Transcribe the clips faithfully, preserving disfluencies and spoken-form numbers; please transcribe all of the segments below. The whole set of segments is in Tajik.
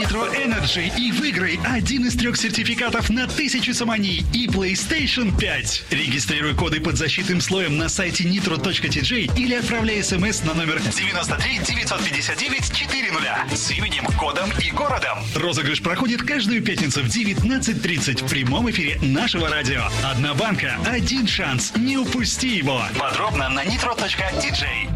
Nitro Energy и выиграй один из трех сертификатов на тысячу сомони и PlayStation пять. Регистрируй коды под защитным слоем на сайте nitro точка ти джей или отправляй смс на номер девяносто три девятьсот пятьдесят девять четыре нуля с именем, кодом и городом. Розыгрыш проходит каждую пятницу в девятнадцать тридцать в прямом эфире нашего радио. Одна банка, один шанс. Не упусти его. Подробно на nitro точка ти джей.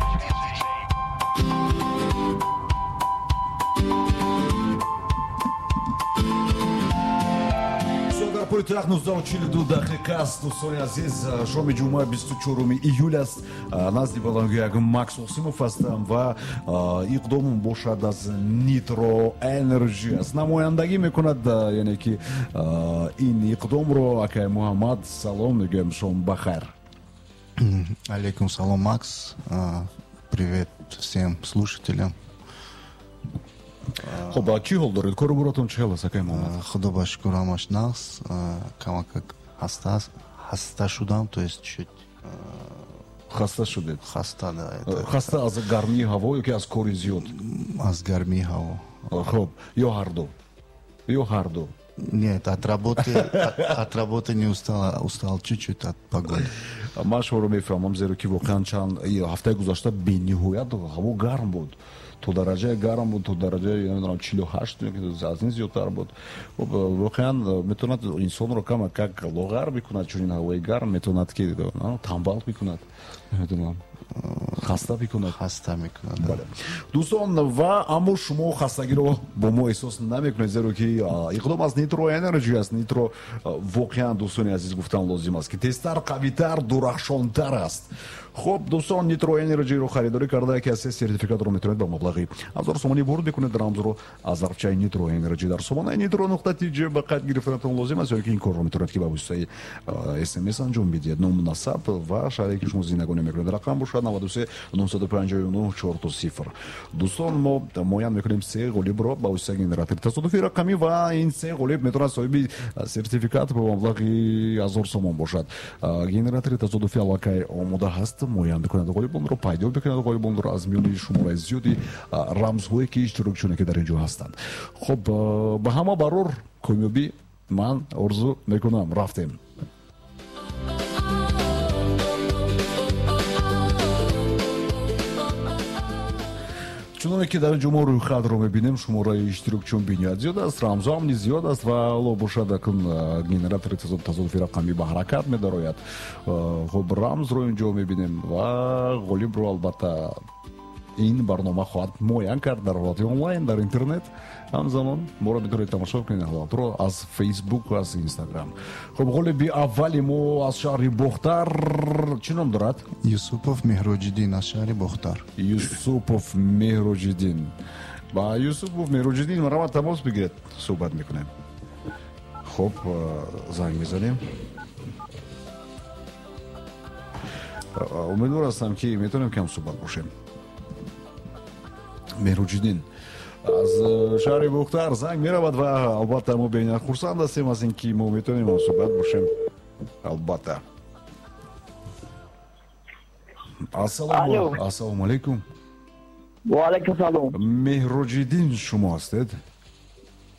Пойтахт нуздаҳу чилу ду дақиқа аст, дӯстони азиз. Шоми ҷумъа бисту чоруми июл аст. Назди баландгӯяк Макс Осимов ҳастам ва иқдомум бошад аз Nitro Energy аст. Намояндагӣ мекунад, яъне ки ин иқдомро акай Муҳаммад. Салом мегӯям, шом бахайр. Алейкум салом, Макс. Привет всем слушателям. Хуб, чӣ ҳол доред? Кору боротон чӣ ҳол аст, акай Муҳаммад? Худо ба шукр, ҳамаш нағз. Камакак хаста хаста шудам, то есть чуть хаста шудед? Хаста, да. Хаста аз гармии ҳаво ё ки аз кори зиёд? Аз гармии ҳаво. Хуб, ё ҳарду? Ё ҳарду? Нет, от работы, от работы не устал, устал чуть-чуть от погоды. Ман шуморо мефаҳмам, зеро ки воқеан чанд ҳафтаи гузашта бениҳоят ҳаво гарм буд. То дараҷаи гарм буд, то дараҷаи намедонам чилу ҳашт аз ин зиёдтар буд. Хуб, воқеан метавонад инсонро кама как лоғар бикунад, чунин ҳавои гарм метавонад ки тамбал бикунад, намедонам, хаста бикунад. Хаста мекунад. Бале. Дӯстон, ва аммо шумо хастагиро бо мо эҳсос намекунед, зеро ки иқдом аз Nitro Energy аст. Nitro воқеан, дӯстони азиз, гуфтан лозим аст ки тезтар, қавитар, дурахшонтар аст. Хуб, дӯстон, Nitro Energy-ро харидорӣ карда, ки аз се сертификатро метавонед ба маблағи ҳазор сомонӣ бурд бикунед. Рамзро аз зарфчаи Nitro Energy дар сомонаи nitro нуқта ти джи ба қайд гирифтанатон лозим аст, ё ки ин корро метавонед ки ба воситаи смс анҷом бидиҳед. Ному насаб ва шаҳре ки шумо зиндагонӣ мекунед. Рақам бошад наваду се нуҳсаду панҷоҳу нуҳ чорто сифр. Дӯстон, мо муайян мекунем се ғолибро ба воситаи генератори тасодуфии рақамӣ ва ин се ғолиб метавонад соҳиби сертификат ба маблағи ҳазор сомон бошад. Генератори тасодуфӣ аллакай омода ҳаст, муайян мекунад ғолибонро, пайдо мекунад ғолибонро аз миёни шумораи зиёди рамзҳое ки иштирокчиёне ки дар ин ҷо ҳастанд. Хуб, ба ҳама барор комёбӣ ман орзу мекунам. Рафтем. Чуноне ки дар ин ҷо мо рӯйхатро мебинем, шумораи иштирокчиён бениҳоят зиёд аст, рамзҳоам низ зиёд аст ва ҳоло бошад акун генератори тасодуфи рақамӣ ба ҳаракат медарояд. Хуб, рамзро ин ҷо мебинем ва ғолибро албатта ин барнома хоҳад муайян кард дар ҳолати онлайн, дар интернет. Ҳамзамон моро метавонед тамошо кунед ҳолатро аз Фейсбук, аз Инстаграм. Хуб, ғолиби аввали мо аз шаҳри Бохтар чӣ ном дорад? Юсупов Меҳроҷиддин аз шаҳри Бохтар. Юсупов Меҳроҷиддин. Ба Юсупов Меҳроҷиддин марҳамат тамос бигиред, суҳбат мекунем. Хуб, занг мезанем. Умедвор ҳастам ки метавонем кам суҳбат бошем. Меҳроҷиддин аз шаҳри Бохтар занг меравад ва албатта мо бениҳоят хурсанд ҳастем аз ин ки мо метавонем ҳамсуҳбат бошем. Албатта. Ассалому алайкум. Ва алайкум салом. Меҳроҷиддин шумо ҳастед?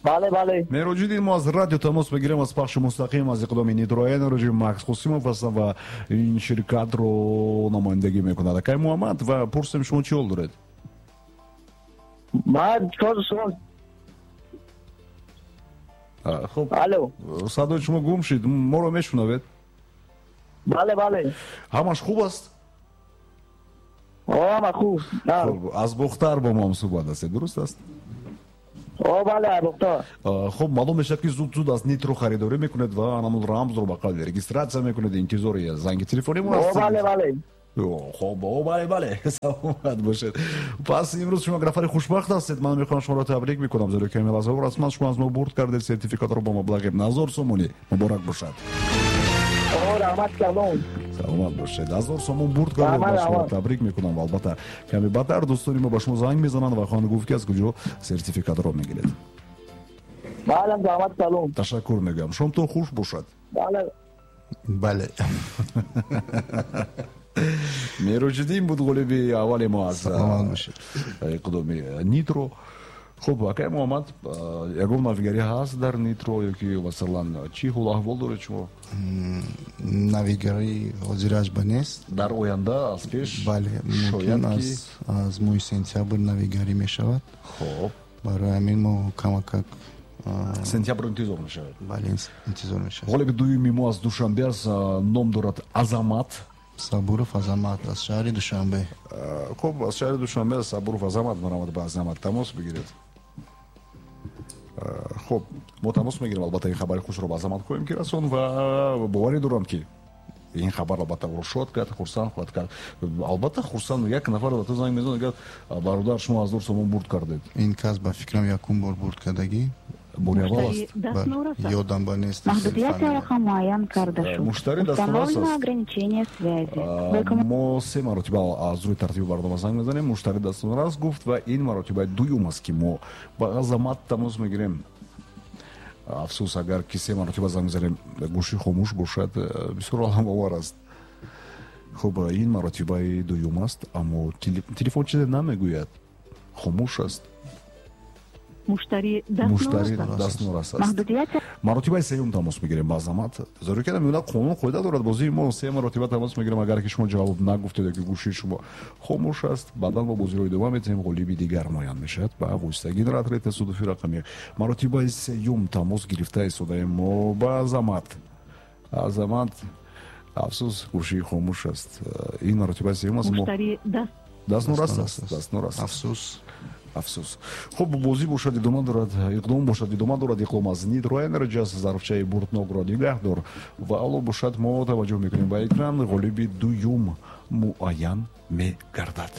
Бале, бале. Меҳроҷиддин, мо аз радио тамос мегирем, аз пахши мустақим аз иқдоми Nitro Energy. Макс Қосимов ҳастам ва ин ширкатро намояндагӣ мекунад акай Муҳаммад. Ва пурсем, шумо чӣ ҳол доред? Ман шумо. Хуб, алло, садои шумо гум шуд, моро мешунавед? Бале, бале. Ҳамаш хуб аст? Ҳама хуб. Аз Бохтар бо мо ҳамсуҳбат ҳастед, дуруст аст? О, бале, аз Бохтар. Хуб, маълум мешавад ки зуд зуд аз Nitro харидорӣ мекунед ва анамун рамзро ба қавли регистратсия мекунед, интизори занги телефонӣ мо ҳастед. О, бале, бале. Хуб, о, бале, бале, саломат бошед. Пас имрӯз шумо нафари хушбахт ҳастед. Ман мехоҳам шуморо табрик мекунам, зеро ки ҳамин расман шумо аз мо бурд кардед сертификатро бо маблағи ҳазор сомонӣ. Муборак бошад. О, раҳмат, салом. Саломат бошед. Ҳазор сомон бурд кардед, ман шуморо табрик мекунам. Ва албатта каме баъдтар дӯстони мо ба шумо занг мезананд ва хоҳанд гуфт ки аз куҷо сертификатро мегиред. Бале, раҳмат, салом. Ташаккур мегӯям. Шомтон хуш бошад. Бале. Бале. Меҳроҷиддин буд ғолиби аввали мо аз иқдоми Nitro. Хуб, акай Муҳаммад, ягон навигарӣ ҳаст дар Нитро ё ки масалан чӣ ҳол аҳвол доред шумо? Навигарӣ ҳозираш ба нест. Дар оянда аз пеш? Бале, мумкин аз аз моҳи сентябр навигарӣ мешавад. Хуб, барои ҳамин мо камакак сентябр интизор мешавад. Бале, интизор мешавад. Ғолиби дуюми мо аз Душанбе аст, ном дорад Азамат Сабуров. Азамат аз шаҳри Душанбе. Хуб, аз шаҳри Душанбе Сабуров Азамат, марамад ба Азамат тамос бигиред. Хуб, мо тамос мегирем, албатта ин хабари хушро ба Азамат хоҳем ки расон ва боварӣ дорам, ки ин хабар албатта ӯро шод кард, хурсанд хоҳад кард. Албатта хурсанд як нафар ба ту занг мезанад, мегӯяд: «Бародар, шумо ҳазор сомон бурд кардед». Ин кас ба фикрам якум бор бурд кардагӣ. Бори аввал аст. Ёдам ба нест. Маҳдудияти алоқа муайян карда шуд. Муштари дастнорас Установлено аст. ограничение связи. Мо се маротиба аз рӯи тартиби барнома занг мезанем. Муштари дастнорас гуфт ва ин маротибаи дуюм аст, ки мо ба Азамат тамос мегирем. Афсӯс, агар ки се маротиба занг мезанем, гӯшӣ хомӯш бошад, бисёр аламовар аст. Хуб, ин маротибаи дуюм аст, аммо телефон чизе намегӯяд, хомӯш аст. Муштари муштари дастнорас аст. Маҳдудияти Маротибаи сеюм тамос мегирем ба Азамат, зеро ки намедонад, қонун қоида дорад бозии мо. Се маротиба тамос мегирем, агар ки шумо ҷавоб нагуфтед ё ки гӯшии шумо хомӯш аст, баъдан мо бозиро идома метиҳем, ғолиби дигар муайян мешавад ба воситаи генератори тасодуфи рақамӣ. Маротибаи сеюм тамос гирифта истодаем мо ба Азамат. Азамат, афсӯс, гӯшии хомӯш аст. Ин маротибаи сеюм аст, мо Муштари даст дастнорас аст, дастнорас. Афсӯс. Афсӯс. Хуб, бозӣ бошад, идома дорад, иқдом бошад, идома дорад. Иқдом аз Нитро Энерджи аст, зарфчаи бурднокро нигаҳ дор. Ва алло бошад, мо таваҷҷӯҳ мекунем ба экран, ғолиби дуюм муайян мегардад.